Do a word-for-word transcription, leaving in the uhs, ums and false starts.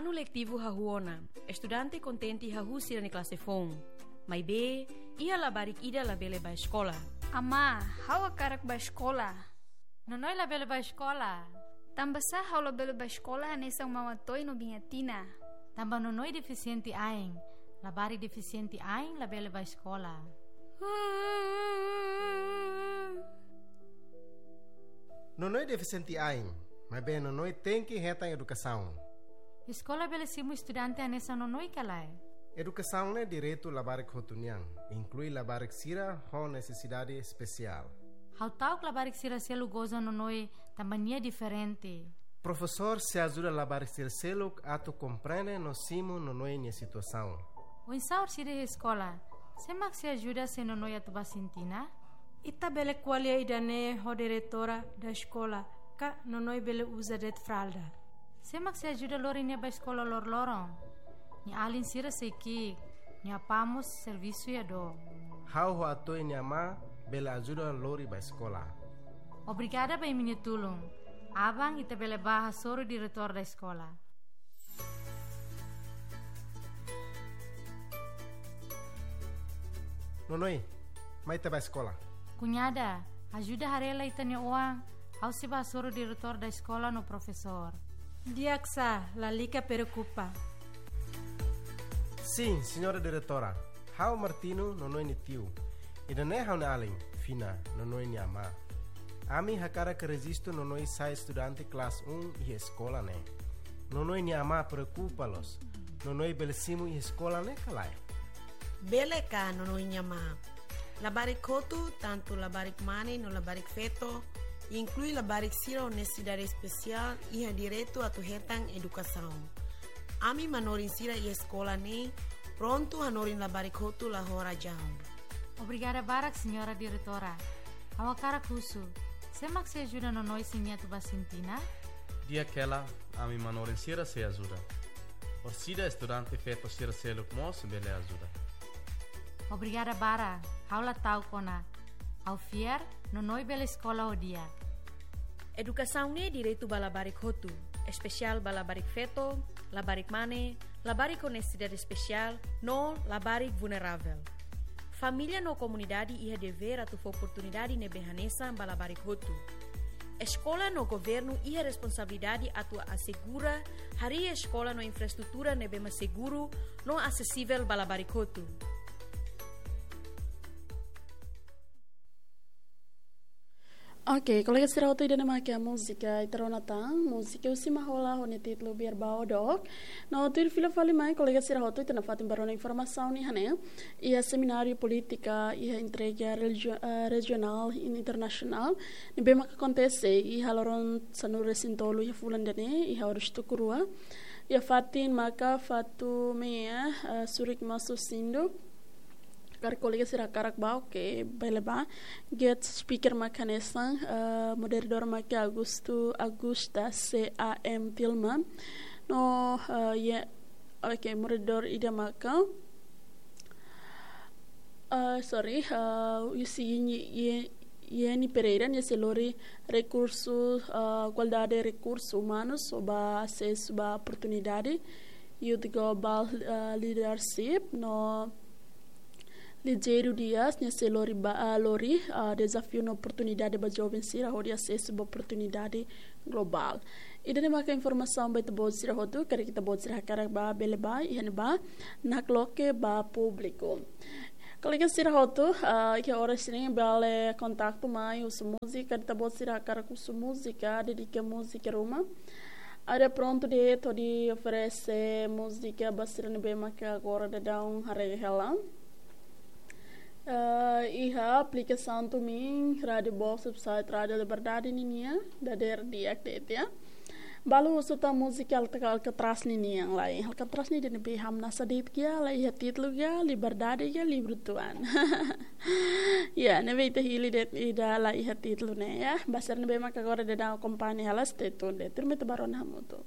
Anu letivu hahú ona, estudante kontente hahú sira-nia klase foun. Maibé, iha labarik ida labele bá eskola. Amá, ha'u hakarak bá eskola. Nonoi labele bá eskola. Tanbasá ha'u labele bá eskola hanesan Mama Toy no Biña Tina? Tanba Nonoi defisiente ain. Labarik defisiente ain labele bá eskola. Nonoi defisiente ain, maibé Nonoi tenke hetan edukasaun. Eskola bele simu estudante hanesan Nonoi ka lae? Edukasaun ne'e direitu labarik hotu nian, inklui labarik sira ho nesesidade espesiál. Ha'u ta'uk labarik sira seluk goza Nonoi tanba nia diferente. Profesór sei ajuda labarik sira seluk atu komprende no simu Nonoi nia situasaun. Oinsá orsida iha eskola? Sé mak sei ajuda se Nonoi atu bá Sintina? Ita bele ko'alia ida-ne'e ho diretora da eskola, ka Nonoi bele uza de'it fralda. Sé mak sei ajuda lori nia bá eskola loroloron? Nia alin sira sei ki'ik, nia apá mós servisu iha dook. Ha'u ho Atoy nia amá bele ajuda lori bá eskola. Obrigada ba imi-nia tulun. Aban ita bele bá hasoru diretór da eskola. Nonoi, mai ita bá eskola. Kuñada, ajuda haree lai ita-nia oan, ha'u sei bá hasoru diretór da eskola no profesór. Di'ak sá, lalika preokupa. Sin, señora diretora. Ha'u Martino, Nonoi nia tiu. Ida-ne'e ha'u-nia alin, Fina, Nonoi nia amá. Ami hakarak rejistu Nonoi sai estudante klase um iha eskola ne'e. Nonoi nia amá preokupa loos. Nonoi bele simu iha eskola ne'e ka lae? Bele ka, Nonoi nia amá. Labarik hotu, tantu labarik mane no labarik feto, inklui labarik sira ho nesesidade espesiál, iha direitu atu hetan edukasaun. Ami manorin sira iha eskola ne'e prontu hanorin labarik hotu la ho razaun. Obrigada barak, señora diretora. Ha'u hakarak husu, sé mak sei ajuda Nonoi se nia atu bá Sintina? Di'ak hela, ami manorin sira sei ajuda. Orsida estudante feto sira seluk mós bele ajuda. Obrigada barak, ha'u la ta'uk ona. Ha'u fiar, Nonoi bele eskola ho di'ak. Edukasaun ne'e direitu ba labarik hotu, espesiál ba labarik feto, labarik mane, labarik ho nesesidade espesiál, no labarik vulneravel. Família no komunidade iha devér atu fó oportunidade ne'ebé hanesan ba labarik hotu. Eskola no governu iha responsabilidade atu asegura harii eskola no infraestrutura ne'ebé mak seguru no asesivel ba labarik hotu. Ok, kolega sira hotu, ida-ne'e mak múzika ita rona tan, múzika husi Mahola ho nia títulu Biar Bau Dook. No tuir fila fali mai, kolega sira hotu, ita nafatin ba rona informasaun iha ne'e, iha semináriu polítika, iha entrega religio-, eh, rejionál i internasionál ne'ebé maka akontese iha loron sanulu-resin-tolu iha fulan ida-ne'e, iha Oras Tukurua. Iha fatin maka Fatumea, eh, Surik Masu Sindu. Karik kolega sira hakarak bá, oke, bele bá. Guest speaker maka hanesan, eh, moderadór maka Augusto, Augusta C A M Tilma. No, eh, ye, oke, moderadór ida maka, eh, sorry, eh, husi Yeni, Ye-, Yeni Pereira, nia sei lori rekursu, eh, igualdade rekursu umanus, ho ba asesu ba oportunidade, Youth Global, eh, Leadership, no Ligério Dias, nia sei lori ba, ah, lori, ah, dezafiu no oportunidade ba joven sira hodi asesu ba oportunidade globál. Ida-ne'e maka informasaun ba ita-boot sira hotu, karik ita-boot sira hakarak bá, bele bá, iha ne'ebá nakloke ba públiku. Kolega sira hotu, ah, iha oras ne'e bele kontaktu mai husu múzika, karik ita-boot sira hakarak husu múzika, dedika múzika ruma. Ami prontu de'it hodi oferese múzika ba sira ne'ebé maka agora daudaun haree hela. Eh, iha aplikasaun tumin Rádio Box, website Rádio Liberdade ninian, dadeer di'ak de'it ya. Balu husu tan múzika Alca-, Alcatraz ninian lai. Alcatraz ne'e ida ne'ebé hamnasa de'it ka, la iha títulu ka, Liberdade ka, Livre Tuan. Ya, ne'ebé ita hili de'it ida la iha títulu ne'e ya. Ba sira ne'ebé maka agora daudaun akompaña hela, stay tuned de'it. Tuirmai ita bá rona hamutuk.